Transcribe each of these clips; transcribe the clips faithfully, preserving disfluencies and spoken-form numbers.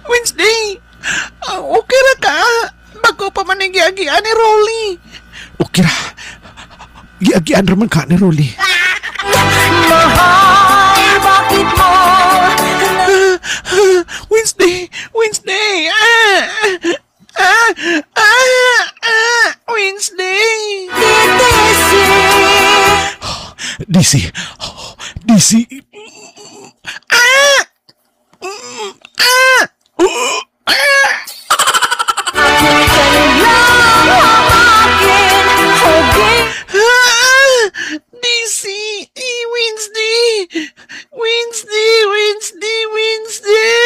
Wednesday, ah, okay ra ka? Bago pa man ang giagian ni Rolly. Okay ra. Giagian raman ka ni Rolly. Mahal, bakit mo Wednesday, Wednesday. Ah, ah, ah, ah, Wednesday. Titiisin? D C. D C. Ah! Mm, ah! Uh, ah! Ako'y kanilang hamakin o di Ah! D C. Eh, Wednesday. Wednesday, Wednesday, Wednesday.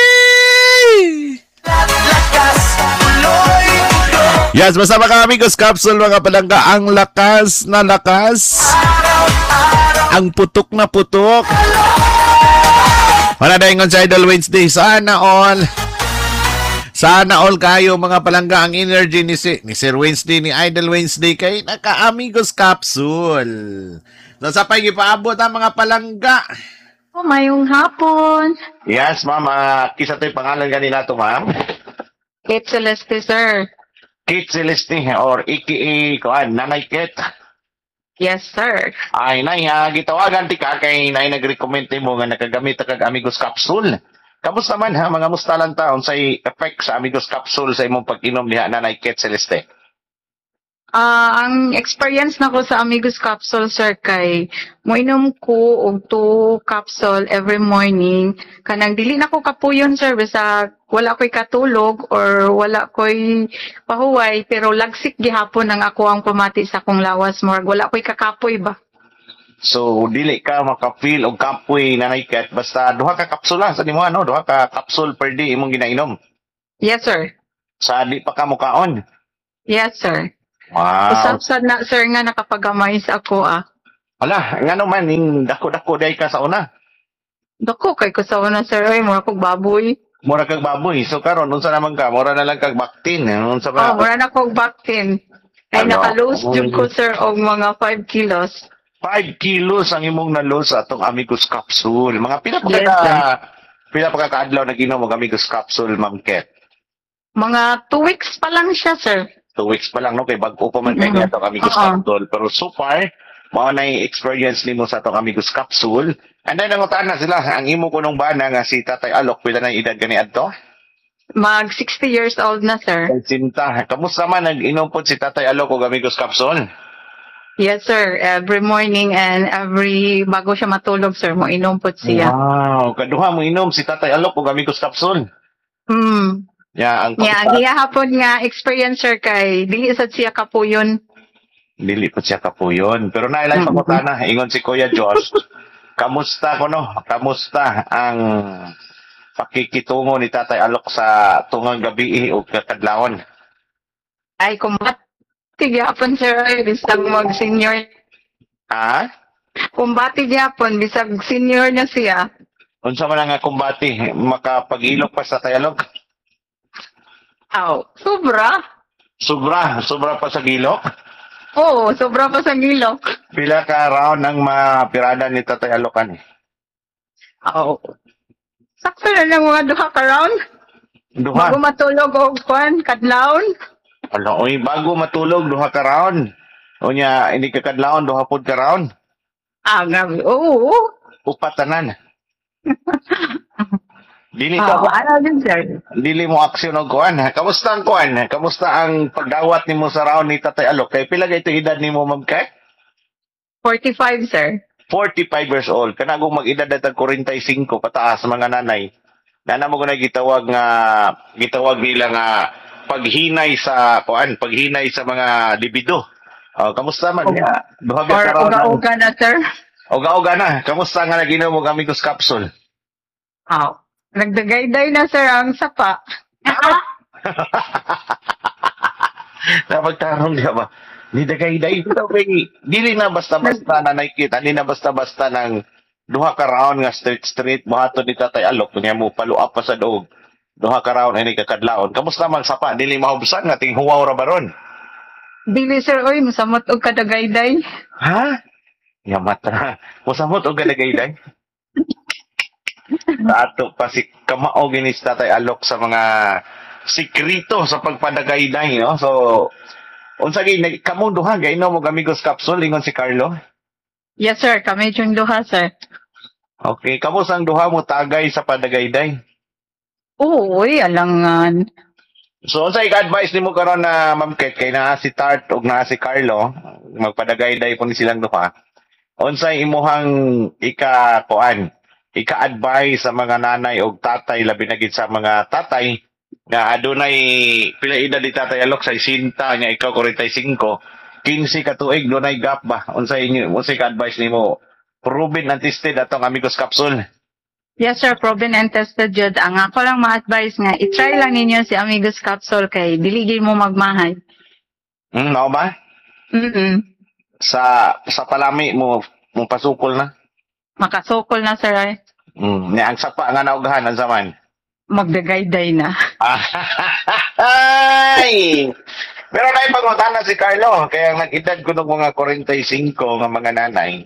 Yes, basta mga Amigos Capsule, mga palangga, ang lakas na lakas. Ang putok na putok. Wala na ingon sa Idol Wednesday. Sana all. Sana all kayo, mga palangga, ang energy ni, si, ni Sir Wednesday, ni Idol Wednesday kay naka-Amigos Capsule. So sa pa'y gipaabot ang mga palangga. Oh, mayong hapon. Yes, ma'am. Uh, kisa to'y pangalan ganina to, ma'am. Kate Celeste, sir. Kate Celeste or A K A kuan, Nanay Kate. Yes, sir. Ay, nay, ha, gitawagan ti ka kay nay nag-recommend mo nga nakagamit kag Amigos Capsule. Kamusta man ha, mga musta lang ta unsay effect sa Amigos Capsule sa imong pag-inom diha, Nanay Kate Celeste? Ah, ang experience nako sa Amigos Capsule, sir, kay moinom ko og two capsule every morning. Kanang dili na ko kapuyon, sir, bisag wala ko'y katulog or wala ko'y pahuway, pero lagsik gihapon ang ako ang pamati sa akong lawas, murag wala ko'y kakapoy ba. So dili ka maka-feel og kapoy, Nanay Kate, basta duha ka kapsula sa nimo, ano, duha ka capsule per day imong ginainom? Yes, sir. Sa di pa ka mukaon. Yes, sir. Wow. Usab sad na, sir, nga nakapagamay sa ako ah. Wala, ngano man ning dako-dako day ka sa una? Dako kay ko sa una, sir, oy, mura kog baboy. Mura kag baboy. So karon unsa naman ka? Mura na lang kag baktin. Unsa ba? Oh, mura na kog baktin. Ay, Ano? naka-lose jud ko, sir, og mga five kilos. five kilos ang imong na-lose sa atong Amigos Capsule. Mga pila pa Yes, ka sir. pila pa ka kaadlaw nag-inom og Amigos Capsule, Ma'am Ket? Mga two weeks pa lang siya, sir. Two weeks pa lang, no, kay bag-o pa man kay Mhm. niya atong Amigos Oo. Capsule. Pero so far, mao na experience nimo sa atong Amigos Capsule. And then nangutan na sila, ang imo kunong bana nga si Tatay Alok, pila na edad kani adto? Mag sixty years old na, sir. Sinta. Kamusta man, nag-inom pod si Tatay Alok og Amigos Capsule? Yes, sir. Every morning and every bago siya matulog, sir, mo inom po siya. Wow, kaduha mo inom si Tatay Alok og Amigos Capsule. Hmm. Ya, ang Yeah, ang gihapon nga experience, sir, kay dili sad siya kapuyon. Dili po siya kapuyon. Pero nailay Mm-mm. pangutana, ingon si Kuya Josh, kamusta ko no? Kamusta ang pakikitungo ni Tatay Alok sa tungang gabi o kakadlawon? Ay, kumbati gihapon, sir, ay, bisag mag senior. Ha? Kumbati gihapon bisag senior na siya. Unsa man ang nga kumbati, makapag-ilok pa sa Tatay Alok? Aw, sobra. Sobra, sobra pa sa gilok? Oo, sobra pa sa gilok. Pila ka round ang mapirada ni Tatay Alok ani? Aw. Sakto na lang mga duha ka round. Duha. Bago matulog og kwan, kadlawon. Ala, oy, bago matulog duha ka round. Unya hindi ka kadlawon, duha pod ka round. Ah, grabe. Oo. Upat tanan. Dili ka Ah, ano din, sir? Dili mo aksyon og kuan. Kamusta ang kuan? Kamusta ang pagdawat nimo sa round ni Tatay Alok? Kay pila kay edad nimo, Ma'am Kay? forty-five, sir. forty-five years old. Kana kung mag-edad na tag forty-five pataas, mga nanay. Nana mo na gitawag nga gitawag nila nga paghinay sa kuan, paghinay sa mga libido. Oh, kamusta man? Uga. Duha ba Or ka round ang- uga-uga na, sir. Uga-uga na. Kamusta nga naginom og Amigos Capsule? Aw. Nagdagayday na, sir, ang sapa. Napagtarong di ba? Ni dagay-day pero kay dili na basta-basta na nakita, di na basta-basta ng duha ka round nga straight straight buhaton ni Tatay Alok niya mo paluap pa sa doog. Duha ka round ini kakadlawon. Kamusta man sapa? Dili mahubsan nga tinghuwaw ra baron? Dili, sir, oy, musamot og kadagayday. Ha? Yamat ra. Musamot og kadagayday. Sa ato pa si kamao gini si Tatay Alok sa mga sikrito sa pagpadagayday, no? So, unsa gyud nag- kamo duha gainom og Amigos Capsule ingon si Carlo? Yes, sir. Kami yung duha, sir. Okay, kamo sang duha mo tagay sa padagayday. Oo, uy, alangan. So, unsa ika-advise nimo karon na Ma'am Ket kay naa si Tart ug naa si Carlo, magpadagayday po ni silang duha. Unsay imuhang ika kuan, ika-advise sa mga nanay ug tatay labi na gid sa mga tatay nga adunay pila edad ni Tatay Alok sa sesenta nya ikaw kuwarenta y singko, kinse ka tuig dunay gap ba? Unsay inyo unsay ka-advise nimo? Proven and tested atong Amigos Capsule. Yes, sir. Proven and tested jud. Ang ako lang ma-advise nga, i-try lang ninyo si Amigos Capsule kay dili gyud mo magmahay. Hmm, mao ba? Mm. Sa sa palami mo mo pasukol na. Makasukol na, sir. Ay. Mm, nya ang sapa nga naughan unsa man? Magdagayday na. Ay! Pero na pangutana si Carlo, kaya ang nag-edad ko ng mga kuwarenta y singko nga mga nanay,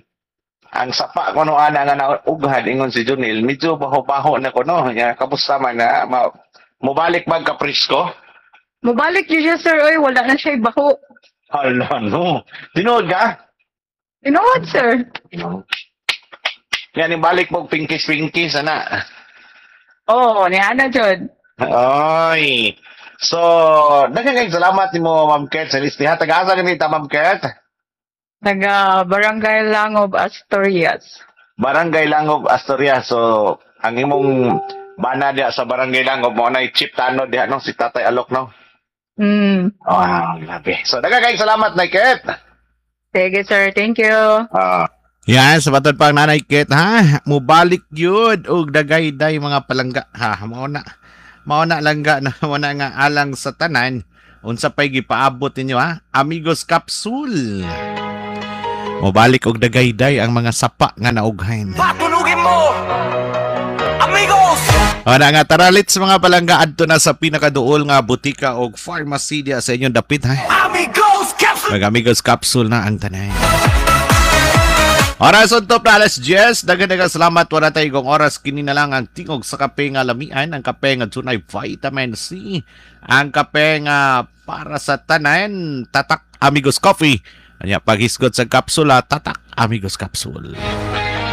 ang sapa ko no ana nga naughad ingon si Junil, medyo baho-baho na ko no. Ya, kamusta man na? Ma, mobalik mag kaprisko? Mubalik yun siya, sir. Oy, wala na siya baho. Hala no. Tinuod ka? Tinuod, sir. Yan, ibalik mo pinkis-pinkis, ana. Oo, oh, ni ana jud. Oy. So, daghang kayong salamat nimo Ma'am Ket Celeste. Ha, taga-asa ni ta Ma'am Ket? Taga Barangay Langob, Asturias. Barangay Langob, Asturias. So, ang imong bana diha sa Barangay Langob mo na Chief Tanod diha no si Tatay Alok no. Mm. Wow, grabe. So, daghang kayong salamat na Ket. Sige, sir. Thank you. Ah. Yan, sa matod pang Nanay Ket, ha? Mubalik yun og dagayday mga palangga, ha? Mao na. Mao na langga na mao na nga alang sa tanan. Unsa pay gipaabot ninyo, ha? Amigos Capsule. Mubalik og dagayday ang mga sapa nga naughain. Patulugin mo! Amigos! Ana nga tara let's mga palangga adto na sa pinakaduol nga butika og pharmacy diya sa inyong dapit ha. Amigos Capsule! Mag Amigos Capsule na ang tanay. Oras on top na alas diyes. Daghang daghang salamat. Wala tayo kung oras. Kini na lang ang tingog sa kape nga lamian. Ang kape nga dunay vitamin C. Ang kape nga para sa tanan. Tatak Amigos Coffee. Anya paghisgot sa kapsula, tatak Amigos Capsule.